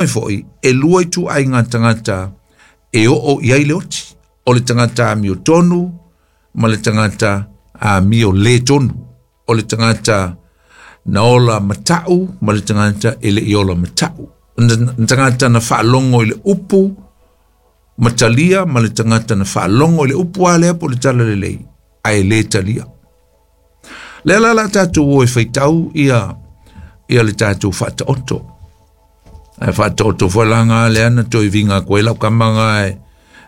Mai foʻi, e lua ituaiga tagata e oo i ai le oti. O le tagata amiotonu ma le tagata amio le tonu. O le tagata na ola matau ma le tagata e le i ola matau. Na tagata na faalogo i le upu ma talia ma le tagata na faalogo i le upu a lea po o le talalelei ae le talia. Lea la la tatou o e faitau ia ia le tatou faataoto. Ae faataoto foi la ngā lea na toe vinga koe lau kama ngā e,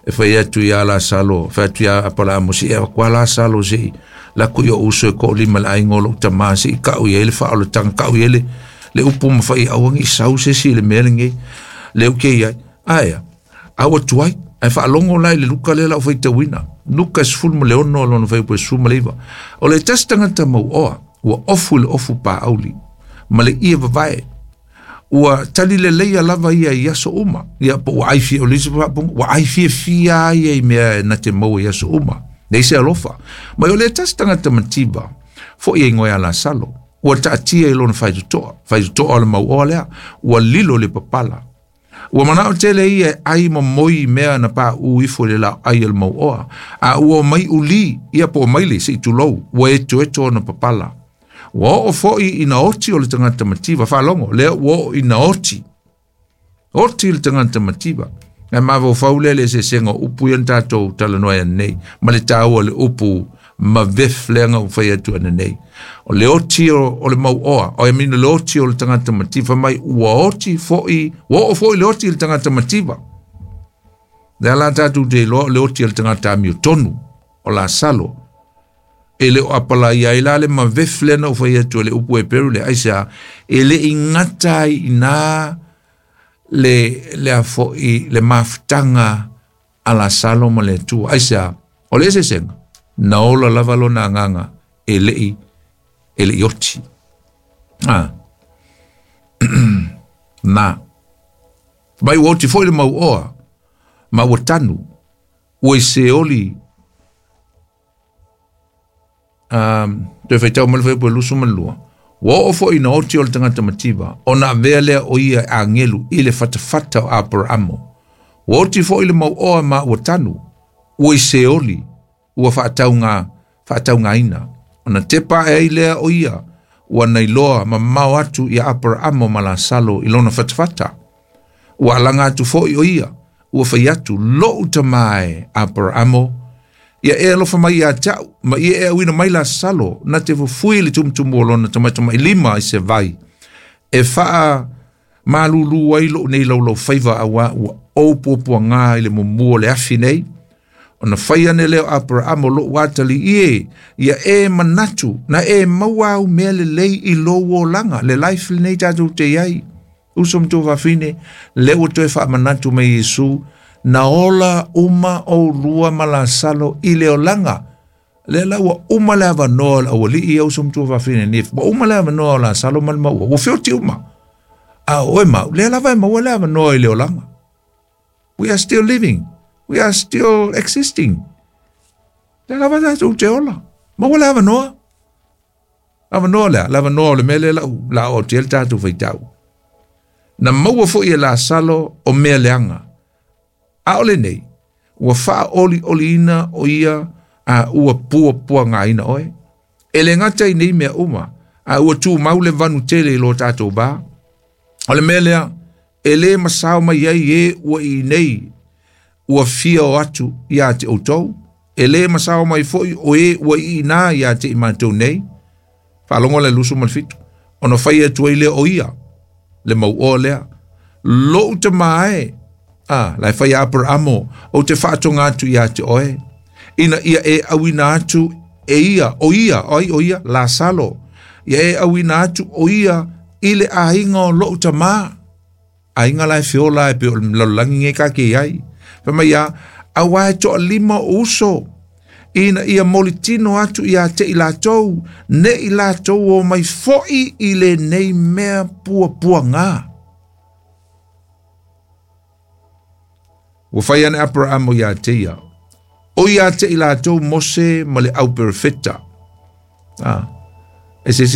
e fai atu ia Lasalo, fai atu ia Apalamo si e kwa Lasalo si la ku yo uso e ko lima la ingo lo tama si ka u ye le fa o le tanga ka u ye le le upu ma fai au ngi sau se si le mele ngi le u ke ia aia a ua tuai ae faalogo la i le Luka lea la o faitauina Luka 16 lona fuaiupu e 19. O le tasi tagata mauoa ua ofu i le ofu pāauli ma le ie vavae ua tali leleia lava ia i aso uma. Ia po ua ai fia o le isi faapunga ua ai fiafia a ia i mea e na te maua i aso uma. Nei se alofa. Ma o le tasi tagata mativa foi e igoa ia Lasalo ua taatia i lona faitotoa faitotoa o le mauoa lea ua lilo le papala. Ua manao tele ia e ai ma moi i mea na pa u ifo i le lao ai o le mauoa. A ua mai uli, ia po o maile se i tulou, ua eto eto ona papala. Ua oo foi ina oti o le tagata mativa, faalogo, lea ua oo ina oti. Oti le tagata mativa. Ae mafaufau lea le eseesega o upu ia na tatou talanoa ai ananei, ma le taua o le upu mavef lea na ou fai atu ananei. O le oti o, o le mauoa, o I mean, le oti o le tagata mativa, mai ua oti foi, ua oo foi le oti i le tagata mativa. Lea la tatou te iloa o le oti o le tagata amiotonu, o Lasalo. E le o apalaia ai la le mavef lea na ou fai atu e le upu Heperu lea, aisea, e le i gata ai i ina le, lea foi le mafutaga a Lasalo ma le Atua. Aisea, o le eseesega, na ola lava lona agaga e le i, e le i oti. Ah. Na. Mai ua oti foi le mauoa, ma ua tanu, ua i seoli toe faitau mai le fuaiupu e 22. Ua oo foi ina oti o le tagata mativa, ona avea lea o ia e agelu i le fatafata o Aperamo. Ua oti foi le mauoa ma ua tanu, ua i seoli, ua faatauga, faataugaina. Ona tepa ae ai lea o ia, ua nailoa mamao atu ia Aperamo ma Lasalo i lona fatafata. Ua alaga atu foi o ia, ua fai atu, lou tama e Aperamo, ia e alofa mai ia te au, ma ia e auina mai Lasalo, na te fufui le tumutumu o lona tamatamailima i se vai, e faa malulu ai lou nei laulau faiva auā ua ou puapuagā i le mumu o le afi nei. Ona fai ane lea o Aperamo lou atalii e, ia e manatu, na e maua au mea lelei i lou olaga, le life lenei tatou te i ai. Uso ma tuafafine, lea ua toe faamanatu mai Iesu, na ola uma oulua ma Lasalo i le olaga. Lea la ua uma le avanoa o le aualii ia uso ma tuafafine nei, ua uma le avanoa o Lasalo ma le maua, ua feoti uma. A o oe ma au, lea lava e maua le avanoa i le olaga. We are still living. We are still existing. Lea lava tatou te ola. Maua le avanoa. Avanoa lea, le avanoa o le mea lea lau la o te le tatou faitau. Na maua foi e Lasalo o mea leaga. A o lenei, ua faaolioliina o ia a ua puapuagaina oe. E le gata i nei mea uma, a ua tumau le vanu tele i lo tatou va. O le mea lea, e le masao mai ai e ua i nei, ua fia o atu ia te outou. E le masao mai foi o e ua i ina ia te i matou nei. Faalogo le 27. Ona fai atu ai lea o ia, le mauoa lea. Lou tama e, a, la e fai a Aperamo, ou te faatoga atu ia te oe. Ina ia e auina atu e ia, o ia, o ai o ia, Lasalo. Ia e auina atu o ia i le aiga o lou tama. Aiga la e feola e pe o le lalolagi nei ka ke ai. Fai mai ia, auā e toalima o uso. Ina ia molitino atu ia te i latou, ne i latou o mai foi i lenei mea puapuagā. Ua fai ane Aperamo ia te ia, o ia te i latou Mose ma le au perofeta. Ah, e se